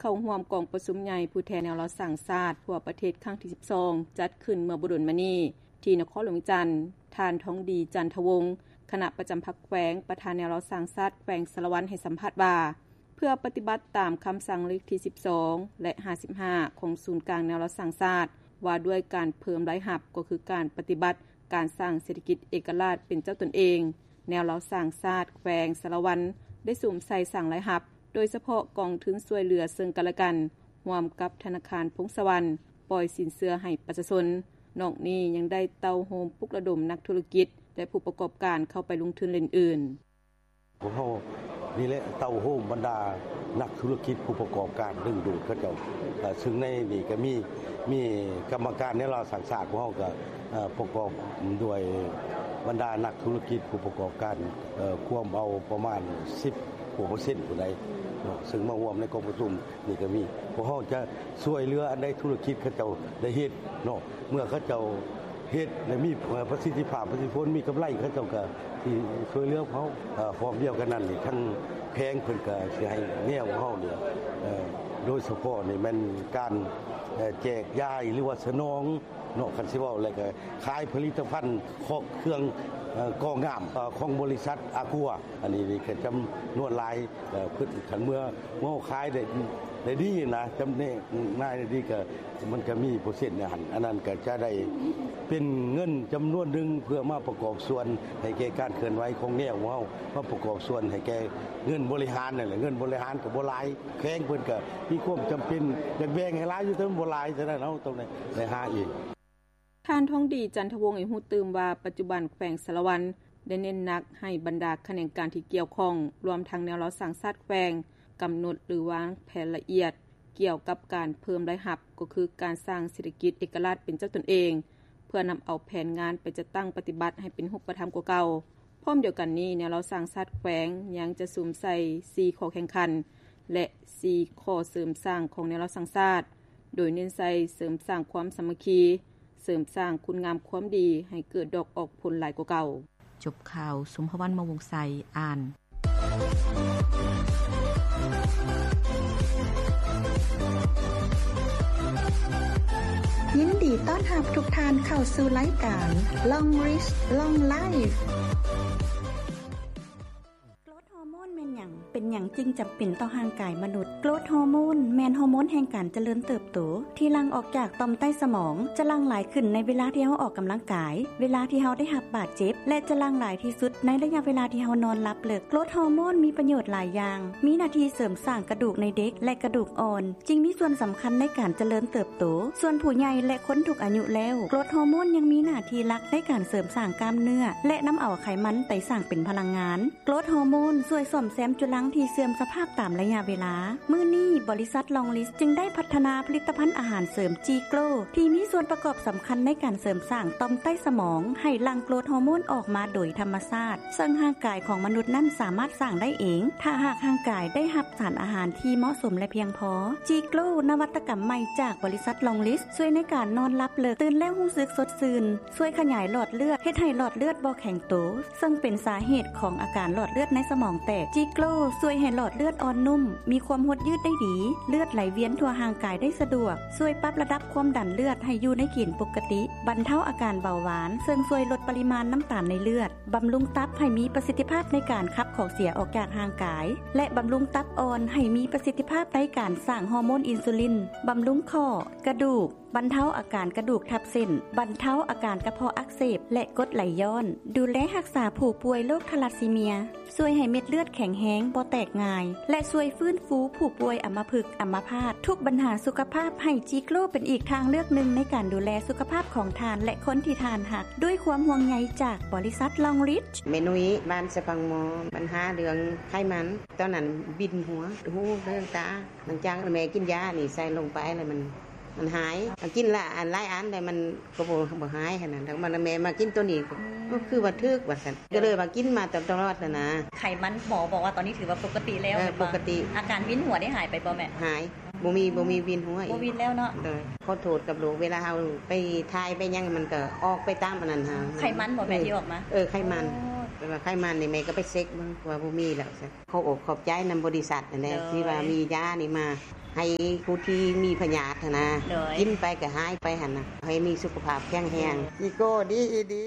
ເຂົ້າຮ່ວມກອງປະຊຸມໃຫຍ່ຜູ້ແທນແນວລາວສ້າງຊາດທົ່ວປະເທດຄັ້ງທີສິບສອງ ຈັດຂຶ້ນເມື່ອບໍ່ດົນມານີ້ ທີ່ນະຄອນຫຼວງວຽງຈັນ, ທ່ານ ທອງດີ ຈັນທະວົງ ຄະນະປະຈຳພັກແຂວງ, ປະທານແນວລາວສ້າງຊາດແຂວງສາລະວັນ ໃຫ້ສຳພາດວ່າ ເພື່ອປະຕິບັດຕາມຄຳສັ່ງເລກທີສິບສອງ ແລະ ຫ້າສິບຫ້າ ຂອງສູນກາງແນວລາວສ້າງຊາດ ວ່າດ້ວຍການເພີ່ມລາຍຮັບ ກໍຄືການປະຕິບັດການສ້າງເສດຖະກິດເອກະລາດເປັນເຈົ້າຕົນເອງ, ແນວລາວສ້າງຊາດແຂວງສາລະວັນ ໄດ້ສຸມໃສ່ສ້າງລາຍຮັບ ໂດຍສະເພາະກອງທຶນຊ່ວຍເຫຼືອເຊິ່ງກັນແລະກັນ ຮ່ວມກັບທະນາຄານພົງສະຫວັນ ປ່ອຍສິນເຊື່ອໃຫ້ປະຊາຊົນ. ນອກນີ້ຍັງໄດ້ເຕົ້າໂຮມປຸກລະດົມນັກທຸລະກິດ ແລະ ຜູ້ປະກອບການເຂົ້າໄປລົງທຶນເຫຼົ່ນອື່ນ. ພວກເຮົານີ້ແຫຼະເຕົ້າໂຮມບັນດານັກທຸລະກິດ ຜູ້ປະກອບການ ດຶງດູດເຂົາເຈົ້າ, ເຊິ່ງໃນນີ້ກໍມີ ມີກຳມະການແນວລາວສ້າງຊາດ ພວກເຮົາກໍ ເອີ ປະກອບດ້ວຍບັນດານັກທຸລະກິດ ຜູ້ປະກອບການ ເອີ ກວມເອົາປະມານສິບກວ່າເປີເຊັນຜູ້ໃດເນາະ ເຊິ່ງມາຮ່ວມໃນກອງປະຊຸມນີ້ກໍມີ. ພວກເຮົາຈະຊ່ວຍເຫຼືອອັນໃດທຸລະກິດເຂົາເຈົ້າໄດ້ເຮັດເນາະ, ເມື່ອເຂົາເຈົ້າເຮັດແລະມີປະສິດທິພາບ ປະສິດທິຜົນ ມີກຳໄລ ເຂົາເຈົ້າກໍຊິຊ່ວຍເຫຼືອພວກເຮົາ. ເອີ ພ້ອມດຽວກັນນັ້ນນີ້ ທາງແຂວງເພິ່ນກໍຊິໃຫ້ແນວເຮົານີ້ ເອີ ໂດຍສະເພາະນີ້ແມ່ນການ ເອີ ແຈກຢາຍ ຫຼືວ່າສະໜອງ ເນາະ ຄັນຊິເວົ້າແລ້ວກໍຂາຍຜະລິດຕະພັນ ເຄາະເຄື່ອງ ເອີ ກໍງາມ ເອີ ຂອງບໍລິສັດອາກົວ. ອັນນີ້ນີ້ກໍຈຳນວນຫຼາຍ ເອີ ເພິ່ນຄັນເມື່ອເຮົາຂາຍໄດ້ ໄດ້ດີນະ ຈຳແນກນາຍໄດ້ດີ ກໍມັນກໍມີເປີເຊັນໃນຫັ້ນ. ອັນນັ້ນກໍຈະໄດ້ເປັນເງິນຈຳນວນໜຶ່ງ ເພື່ອມາປະກອບສ່ວນໃຫ້ແກ່ການເຄື່ອນໄຫວຂອງແນວເຮົາ ມາປະກອບສ່ວນໃຫ້ແກ່ເງິນບໍລິຫານນັ້ນແຫຼະ. ເງິນບໍລິຫານກໍບໍ່ຫຼາຍ ແຂວງເພິ່ນກໍມີຄວາມຈຳເປັນຢາກແບ່ງໃຫ້ຫຼາຍຢູ່ ແຕ່ມັນບໍ່ຫຼາຍ ສະນັ້ນເຮົາຕ້ອງໄດ້ ໄດ້ຫາເອງ. ທ່ານ ທອງດີ ຈັນທະວົງ ໃຫ້ຮູ້ຕື່ມວ່າ ປັດຈຸບັນແຂວງສາລະວັນ ໄດ້ເນັ້ນໜັກໃຫ້ບັນດາຂະແໜງການທີ່ກ່ຽວຂ້ອງ ລວມທັງແນວລາວສ້າງຊາດແຂວງ ກຳນົດ ຫຼື ວາງແຜນລະອຽດ ກ່ຽວກັບການເພີ່ມລາຍຮັບ ກໍຄືການສ້າງເສດຖະກິດເອກະລາດເປັນເຈົ້າຕົນເອງ ເພື່ອນຳເອົາແຜນງານໄປຈັດຕັ້ງປະຕິບັດໃຫ້ເປັນຮູບປະທຳກວ່າເກົ່າ. ພ້ອມດຽວກັນນີ້ ແນວລາວສ້າງຊາດແຂວງຍັງຈະສຸມໃສ່ສີ່ຂໍ້ແຂ່ງຂັນ ແລະ ສີ່ຂໍ້ເສີມສ້າງຂອງແນວລາວສ້າງຊາດ ໂດຍເນັ້ນໃສ່ເສີມສ້າງຄວາມສາມັກຄີ, ເສີມສ້າງຄຸນງາມຄວາມດີໃຫ້ເກີດດອກອອກຜົນຫຼາຍກວ່າເກົ່າ. ຈົບຂ່າວ ສົມພະວັນ ມະວົງໄຊ ອ່ານ. ຍິນດີຕ້ອນຮັບທຸກທ່ານເຂົ້າສູ່ລາຍການ Long Reach Long Life. ໂກຣດຮໍໂມນແມ່ນຫຍັງ? ເປັນຫຍັງຈຶ່ງຈຳເປັນຕໍ່ຮ່າງກາຍມະນຸດ? ໂກຣດຮໍໂມນແມ່ນຮໍໂມນແຫ່ງການຈະເລີນເຕີບໂຕ ທີ່ຫຼັ່ງອອກຈາກຕ່ອມໃຕ້ສະໝອງ, ຈະຫຼັ່ງຫຼາຍຂຶ້ນໃນເວລາທີ່ເຮົາອອກກຳລັງກາຍ, ເວລາທີ່ເຮົາໄດ້ຮັບບາດເຈັບ ແລະ ຈະຫຼັ່ງຫຼາຍທີ່ສຸດໃນໄລຍະເວລາທີ່ເຮົານອນຫຼັບເລິກ. ໂກຣດຮໍໂມນມີປະໂຫຍດຫຼາຍຢ່າງ, ມີໜ້າທີ່ເສີມສ້າງກະດູກໃນເດັກ ແລະ ກະດູກອ່ອນ, ຈຶ່ງມີສ່ວນສຳຄັນໃນການຈະເລີນເຕີບໂຕ. ສ່ວນຜູ້ໃຫຍ່ ແລະ ຄົນທຸກອາຍຸແລ້ວ, ໂກຣດຮໍໂມນຍັງມີໜ້າທີ່ຫຼັກໃນການເສີມສ້າງກ້າມເນື້ອ ແລະ ນຳເອົາໄຂມັນໄປສ້າງເປັນພະລັງງານ. ໂກຣດຮໍໂມນຊ່ວຍສ້ອມແຊມຈຸລັງທີ່ເສື່ອມສະພາບຕາມໄລຍະເວລາ. ມື້ນີ້ ບໍລິສັດ Long Reach ຈຶ່ງໄດ້ພັດທະນາຜະລິດຕະພັນອາຫານເສີມ G-Grow ທີ່ມີສ່ວນປະກອບສຳຄັນໃນການເສີມສ້າງຕ່ອມໃຕ້ສະໝອງໃຫ້ຫຼັ່ງໂກຣດຮໍໂມນອອກມາໂດຍທຳມະຊາດ, ເຊິ່ງຮ່າງກາຍຂອງມະນຸດນັ້ນສາມາດສ້າງໄດ້ເອງ ຖ້າຫາກຮ່າງກາຍໄດ້ຮັບສານອາຫານທີ່ເໝາະສົມ ແລະ ພຽງພໍ. G-Grow ນະວັດຕະກຳໃໝ່ຈາກບໍລິສັດ Long Reach ຊ່ວຍໃນການນອນຫຼັບເລິກ, ຕື່ນແລ້ວຮູ້ສຶກສົດຊື່ນ, ຊ່ວຍຂະຫຍາຍຫຼອດເລືອດ, ເຮັດໃຫ້ຫຼອດເລືອດບໍ່ແຂງໂຕ, ເຊິ່ງເປັນສາເຫດຂອງອາການຫຼອດເລືອດໃນສະໝອງແຕກ. G-Grow ຊ່ວຍໃຫ້ຫຼອດເລືອດອ່ອນນຸ້ມ, ມີຄວາມຫົດຍືດໄດ້ດີ, ເລືອດໄຫຼວຽນທົ່ວຮ່າງກາຍໄດ້ສະດວກ, ຊ່ວຍປັບລະດັບຄວາມດັນເລືອດໃຫ້ຢູ່ໃນເກນປົກກະຕິ, ບັນເທົາອາການເບົາຫວານ, ເຊິ່ງຊ່ວຍລົດປະລິມານນ້ຳຕານໃນເລືອດ, ບຳລຸງຕັບໃຫ້ມີປະສິດທິພາບໃນການຂັບຂອງເສຍອອກຈາກຮ່າງກາຍ ແລະ ບຳລຸງຕັບອ່ອນໃຫ້ມີປະສິດທິພາບໃນການສ້າງຮໍໂມນອິນຊູລິນ, ບຳລຸງຂໍ້, ກະດູກ, ບັນເທົາອາການກະດູກທັບເສັ້ນ, ບັນເທົາອາການກະເພາະອັກເສບ ແລະ ກົດໄຫຼຍ້ອນ, ດູແລຮັກສາຜູ້ປ່ວຍໂລກທາລາຊີເມຍ, ຊ່ວຍໃຫ້ເມັດເລືອດແຂງແຮງ, ບໍ່ແຕກງ່າຍ ແລະ ຊ່ວຍຟື້ນຟູຜູ້ປ່ວຍອຳມະພຶກ, ອຳມະພາດ. ທຸກບັນຫາສຸຂະພາບ, ໃຫ້ G-Grow ເປັນອີກທາງເລືອກໜຶ່ງໃນການດູແລສຸຂະພາບຂອງທ່ານ ແລະ ຄົນທີ່ທ່ານຮັກ, ດ້ວຍຄວາມຫ່ວງໃຍຈາກບໍລິສັດ Long Reach. ແມ່ນຸ້ຍ ບ້ານສະພັງມໍ, ບັນຫາເລື່ອງໄຂມັນ, ຕອນນັ້ນວິນຫົວ, ຫູ, ເລື່ອງຕາ, ຫຼັງຈາກແມ່ກິນຢານີ້ໃສ່ລົງໄປແລ້ວມັນ ມັນຫາຍ. ກິນລະອັນຫຼາຍອັນແລ້ວມັນກໍບໍ່ ບໍ່ຫາຍຫັ້ນນະ. ແລ້ວມາ ແມ່ມາກິນໂຕນີ້ ອືມ ກໍຄືວ່າຖືກວ່າຊັ້ນ. ກໍເລີຍວ່າກິນມາຕະຫຼອດຫັ້ນນະ. ໄຂມັນໝໍບອກວ່າຕອນນີ້ຖືວ່າປົກກະຕິແລ້ວ ເອີ ແມ່ນບໍ່? ປົກກະຕິ. ອາການວິນຫົວໄດ້ຫາຍໄປບໍ່ແມ່? ຫາຍ. ບໍ່ມີ ບໍ່ມີວິນຫົວອີກ. ບໍ່ວິນແລ້ວເນາະ? ໂດຍ. ຂໍໂທດກັບໂລກ ເວລາເຮົາໄປຖ່າຍໄປຫຍັງ ມັນກໍອອກໄປຕາມອັນນັ້ນຫັ້ນ. ໄຂມັນບໍ່ແມ່ ທີ່ອອກມາ? ເອີ ໄຂມັນ. ອໍ. ແຕ່ວ່າໄຂມັນນີ້ແມ່ກໍໄປເຊັກເບິ່ງວ່າບໍ່ມີແລ້ວຊັ້ນ. ຂໍອົບຂອບໃຈນຳບໍລິສັດຫັ້ນແຫຼະ ໂດຍ ທີ່ວ່າມີຢານີ້ມາ ໃຫ້ຜູ້ທີ່ມີພະຍາດຫັ້ນນະ ໂດຍ ກິນໄປກໍຫາຍໄປຫັ້ນນະ ໃຫ້ມີສຸຂະພາບແຂງແຮງ ອີໂກ້ດີ ອີດີ.